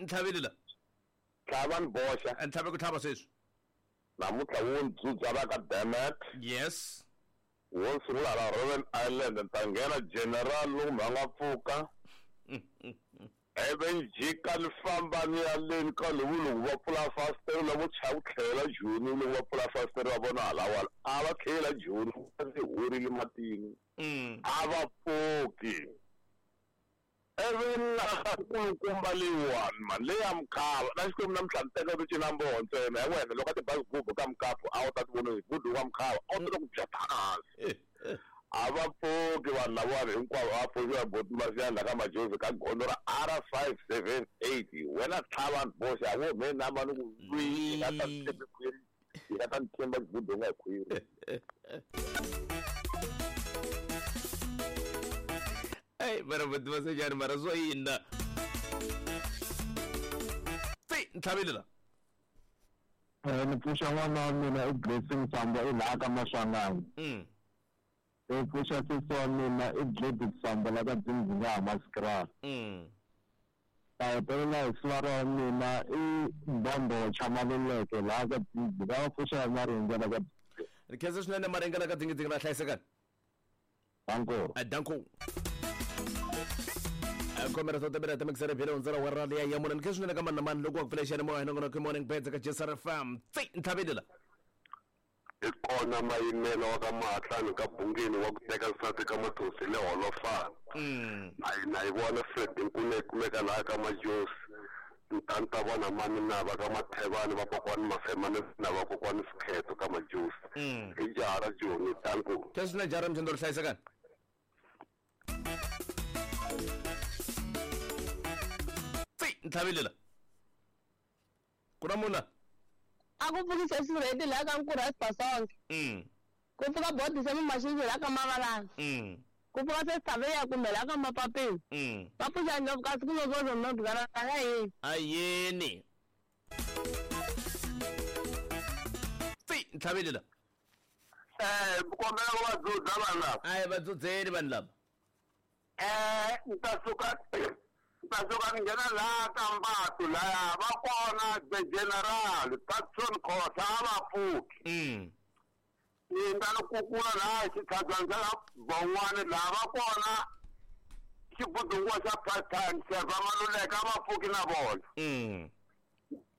Ntlhaveli la. Tlhava ni boxa. Ntlhave ku tlhava sweswi. Namuntlha wo ndzudza va ka Damet. Yes. Wo sungula la Robben Island ni ta nghena general loko mhanga nga pfuka. Ivi ni jika ni famba ni ya leni ka lowu loko va pfula fasitere lavo chava ku tlhelela Joni loko va pfula fasitere va vona halawala a va tlhelela Joni va se horile matini. A va pfuki. Ivi na nkulukumba leyiwani mani leyi ya mukhava na Xikwembu namuntlha ni teka ku cina mboho ntsena ya wena loko a ti bazi gubu ka mukapu a wu ta ti vona gudu wa mukhava a wu ta ku bya hansi. A va pfuki vanhu lavawani hinkwavo a va pfuxiwa boti Masiyandla ka Majozi ka gondzo ra R578 wena tlhava ni boxa wo me namba ni ku lwi yi nga ta ni tshembi khwiri yi nga ta ni tshemba gudu nga hi khwiri. Ey, mara boti Masiyandla mara swo yini na? Tsi, ntlhaveli la. Ni pfuxa n'wana wa mina i Blessing Sambo i laha ka Maswanganyi. Ni pfuxa sesi wa mina i Gladys Sambo la ka Dzindzinga Hammanskraal. Ta hetelela hi sivara wa mina i Mbondo Chamaluleke laha ka Dzindzinga va pfuxa ya Maringa la ka Dzindzinga. Ni khensa swinene Maringa la ka Dzindzinga la hlayisekani. Danko. Danko. Khomera swa tabela ta mixere phela hundzela wa rali ya yamuna ni khensa swinene ka mani na mani loko wa ku pfula xiyanimoya nongonoko morning beds ka JSR FM. Tsi, ntlhaveli la. I kona mayimelo wa ka Mahatlani ka Bungeni wa ku teka nsati ka Mathosi le Holofana. Na yi vona Fred Nkune yi kumeka laha ka Majosi. Ni ta ni ta vona mani na va ka Mathevani va kokwani Mafemani na va kokwani Sikheto ka Majosi. Hi jaha ra Joni danko. Khensa swinene jaha ra Mthendoro hlayisekani. Tsi, ntlhaveli la. Ku na munhu la? A ku pfukise sirheti laha ka Nkurha Sibasonke. Ku pfuka bodi se Mumashindzi laha ka Mavalana. Ku pfuka se Sithaveya kumbe laha ka Mapapeni. Va pfuxa ndlopfu kasi ku lozozo no ya yini. A yini. Tsi, ntlhaveli la. Kombela ku va dzudza vanhu lava. A hi va dzudzeni vanhu lava. Ni ta suka ni ta suka ni nghena laha ka Mbatu laya va kona the general Patson Khosa a va pfuki. Ni nga ni kukula laha xitlhabyana xa Bon'wani laha va kona xibudunguwa xa part time Serva Maluleke a va pfuki na vona.